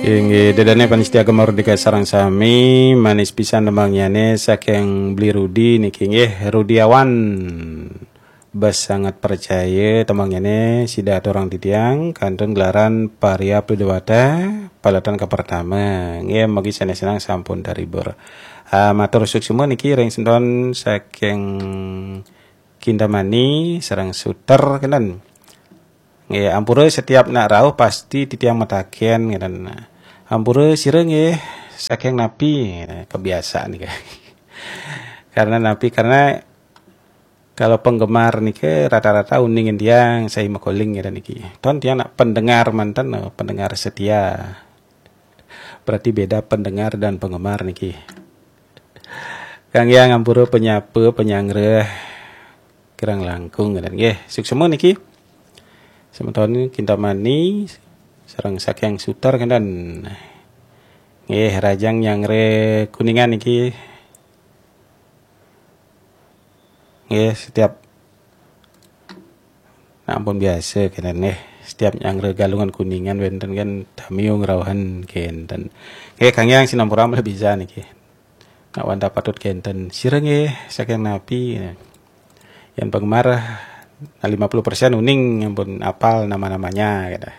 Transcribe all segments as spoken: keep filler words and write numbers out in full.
Inggih, dedane panitia Gema Merdeka sareng sami, manis pisan tembangyane saking Bli Rudi niki nggih, Rudiawan. Bes sangat percaya tembangyane sida aturang titiang kantun gelaran Paria Pidawata paletan kapertama. Nggih, mugi sanes-sanes sampun terhibur. Ah, matur suksma niki ring semeton saking Kintamani sareng Suter kenten. Nggih, ampura setiap nak rauh pasti titiang mataken kenten. Ampura sira nggih saking napi? Kebiasaan nika. Karena napi? Karena kalau penggemar nika rata-rata uning tiang saya makoling kenten niki. Ton tiang nak pendengar manten, pendengar setia. Berarti beda pendengar dan penggemar niki. Kang Yang ampura penyapa penyanggra kirang langkung kenten nggih. Suksma niki. Semeton Kintamani sareng saking Suter kenten. Nggih, rahajeng nyanggra Kuningan niki. Nggih, setiap nah, ampun biasa kenten nggih. Setiap nyanggra Galungan Kuningan wenten kan tamiu ngrauhan kenten. Nggih, Kang Yang sinampura malih bisa niki. Nak wantah patut kenten. Sira nggih saking napi? Yang penggemar nah, lima puluh persen uning ampun apal nama-namanya kenten.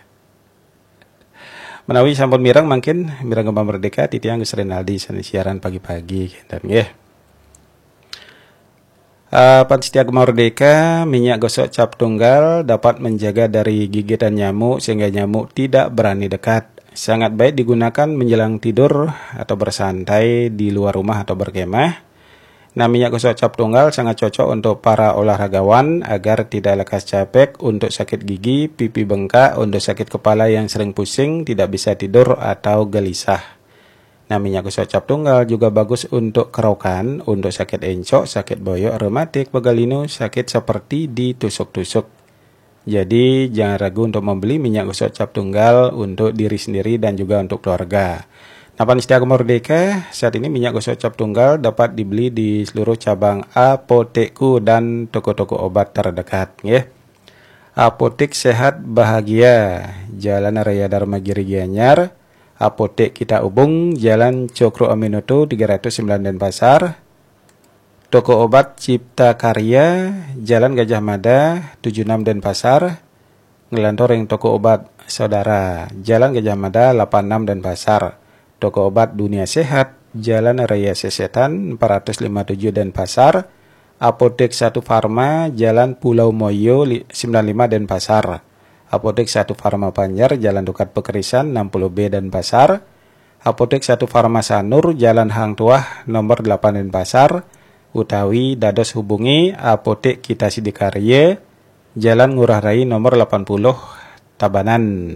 Menawi sampun mireng mangkin mireng Gema Merdeka titiang Gus Renaldi sane siaran pagi-pagi kenten nggih. Uh, Pan Setia Gema Merdeka, minyak gosok cap tunggal dapat menjaga dari gigitan nyamuk sehingga nyamuk tidak berani dekat. Sangat baik digunakan menjelang tidur atau bersantai di luar rumah atau berkemah. Nah, minyak gosok cap tunggal sangat cocok untuk para olahragawan agar tidak lekas capek, untuk sakit gigi, pipi bengkak, untuk sakit kepala yang sering pusing, tidak bisa tidur atau gelisah. Nah, minyak gosok cap tunggal juga bagus untuk kerokan, untuk sakit encok, sakit boyok, rematik, pegal linu, sakit seperti ditusuk-tusuk. Jadi, jangan ragu untuk membeli minyak gosok cap tunggal untuk diri sendiri dan juga untuk keluarga. Nah, Pan Setia Gema Merdeka, saat ini minyak gosok cap tunggal dapat dibeli di seluruh cabang Apotekku dan toko-toko obat terdekat, nggih. Apotek Sehat Bahagia, Jalan Raya Dharma Giri Gianyar, Apotek Kita Ubung, Jalan Cokro Aminoto tiga ratus sembilan Denpasar, Toko Obat Cipta Karya, Jalan Gajah Mada tujuh enam Denpasar, nglantur ring Toko Obat Saudara, Jalan Gajah Mada lapan enam Denpasar, Toko Obat Dunia Sehat, Jalan Raya Sesetan empat ratus lima tujuh Denpasar, Apotek Satu Farma, Jalan Pulau Moyo li-, sembilan lima Denpasar, Apotek Satu Farma Panjar, Jalan Dukat Pekerisan enam puluh B Denpasar, Apotek Satu Farma Sanur, Jalan Hang Tuah nomor delapan Denpasar, utawi dados hubungi Apotek Kita Sidakarya, Jalan Ngurah Rai nomor lapan puluh Tabanan.